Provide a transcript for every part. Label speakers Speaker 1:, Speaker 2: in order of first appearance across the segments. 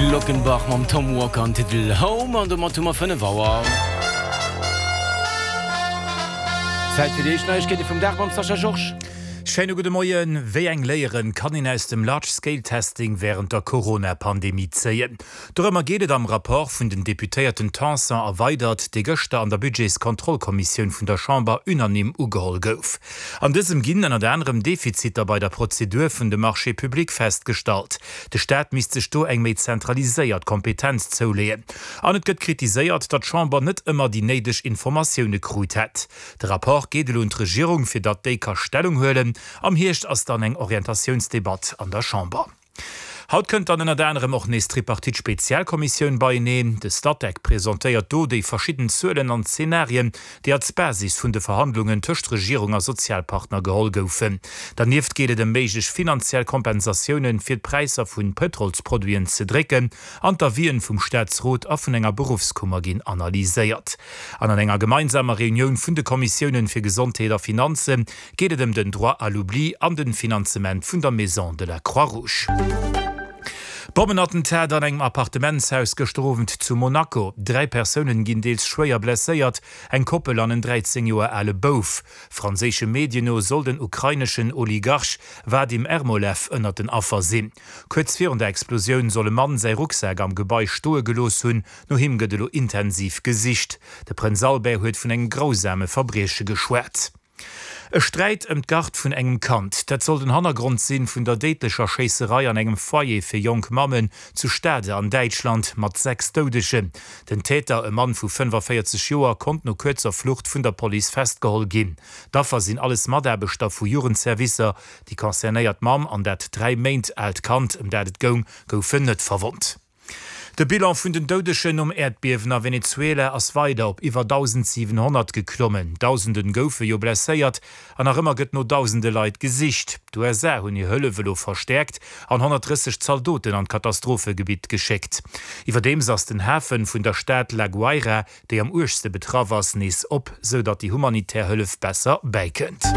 Speaker 1: Glockenbach mam Tom Walker an Titel Home an domat hu mer 5 Auer. Zäit fir déi éischt Neiegkeete vum Dag mam Sascha Georges.
Speaker 2: Schéine gudde Moien. Wéi eng Léieren kann een aus dem Large Scale Testing wärend der Corona-Pandemie zéien? Dorëmmer geet et am Rapport vun den Deputéierten Tanson a Weydert, dee gëschter an der Budgetskontrollkommissioun vun der Chamber unanime ugeholl gouf. An dësem ginn ënnert anerem Defiziter bei der Prozedur vun de Marchés publics festgestallt. De Staat misst sech do eng méi zentraliséiert Kompetenz zouleeën. An et gëtt kritiséiert, datt d'Chamber net ëmmer déi néideg Informatioune krut hätt. De Rapport geet elo un d'Regierung, fir datt déi ka Stellung huelen. Am Hierscht ass dann eng Orientatiounsdebatt an der Chamber. Haut kënnt dann ënnert anerem och nees d'Tripartite-Spezialkommissioun beieneen. De Statec presentéiert do déi verschidden Zuelen an Zenarien, déi als Basis vun de Verhandlungen tëscht Regierung a Sozialpartner geholl goufen. Dernieft geet et ëm méiglech finanziell Kompensatiounen, fir d'Präisser vu Pëtrolsproduiten ze drécken, an d'Avisen vum Staatsrot a vun enger Beruffskummer ginn analyséiert. An an enger gemeinsamer Reunioun vun de Kommissiounen fir Gesondheet a Finanze geet et ëm den Droit à l'oubli an den Finanzement vun der Maison de la Croix-Rouge. Bommenattentat an engem Appartementshaus gëschter Owend zu Monaco. 3 Persounen ginn deels schwéier blesséiert, eng Koppel an en 13 Joer ale Bouf. Franséische Medien no soll den ukraineschen Oligarch Wadim Ermolev ënnert den Affer sinn. Kuerz virun der Explosioun soll e Mann säi Rucksak am Gebai stoe gelooss hunn. No him gëtt elo intensiv gesicht. De Prënz Albert huet vun engem grausame Verbrieche geschwat. E Sträit ëm d'Gard vun engem Kand, dat soll den Hannergrond sinn vun der déidlecher Schéisserei an engem Foyer fir jonk Mammen zu Stade an Däitschland mat 6 Doudegen. Den Täter, e Mann vu 45 Joer, konnt no kuerzer Flucht vun der Police festgeholl ginn. D'Affer sinn alles Mataarbechter vu Jugendservicer. Déi concernéiert Mamm an dat 3 Méint aalt Kand, ëm dat et goung, goufen net verwonnt. De Bilan vun den Doudegen nom Äerdbiewen a Venezuela ass weider op iwwer 1.700 geklommen. Dausende goufe jo blesséiert an nach ëmmer gëtt no dausende Leit gesicht. D'USA hunn hir Hëllef elo verstäerkt an 130 Zaldoten an d'Katastrophegebitt geschéckt. Iwwerdeems ass den Hafe vun der Stad La Guaira déi am uergste betraff ass, nees op, sou datt déi humanitär Hëllef besser bäikënnt.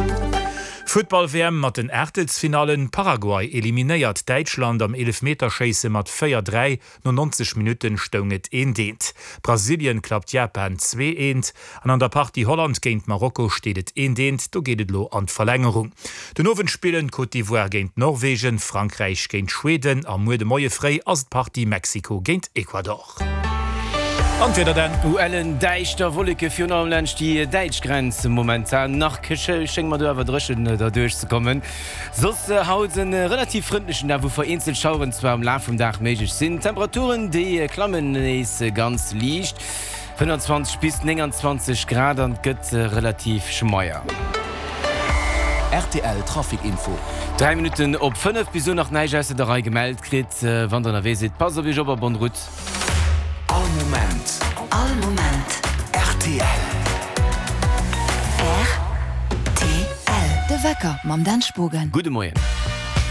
Speaker 2: Futtball-WM mat den Aachtelsfinallen, Paraguay eliminéiert Däitschland am Eelefmeterschéisse mat 4, 3, no 90 Minutten stoung et eent, eent. Brasilien klappt Japan 2, eent an an der Partie Holland géint Marokko steet et eent, eent, do geet et elo an d'Verlängerung. Den Owend spillen Côte d'Ivoire géint Norwegen, Frankräich géint Schweden a muer de Moie fréi ass d'Partie Mexiko géint Ecuador.
Speaker 1: An d'Wieder dann? ULen däischter Wolleke virun allem laanscht déi däitsch Grenz. Momentan nach schénge mer do awer dréchen derduerch ze kommen. Soss haut e relativ frëndlechen Dag, wou vereenzelt Schaueren zwar am Laf vum Dag méiglech sinn. D'Temperaturen déi klammen nees ganz liicht, 25 bis 29 Grad an et gëtt relativ schmeier.
Speaker 3: Rtl Trafic Info.
Speaker 1: 3 Minutten op 5, bis elo nach näischt ausser der Rei gemellt kritt. Wann der ënnerwee sidd, passt op iech op a bonne route.
Speaker 3: All Moment.
Speaker 4: All Moment.
Speaker 3: Rtl.
Speaker 4: Rtl. De Wecker mam Dan Spogen.
Speaker 1: Gudde Moien.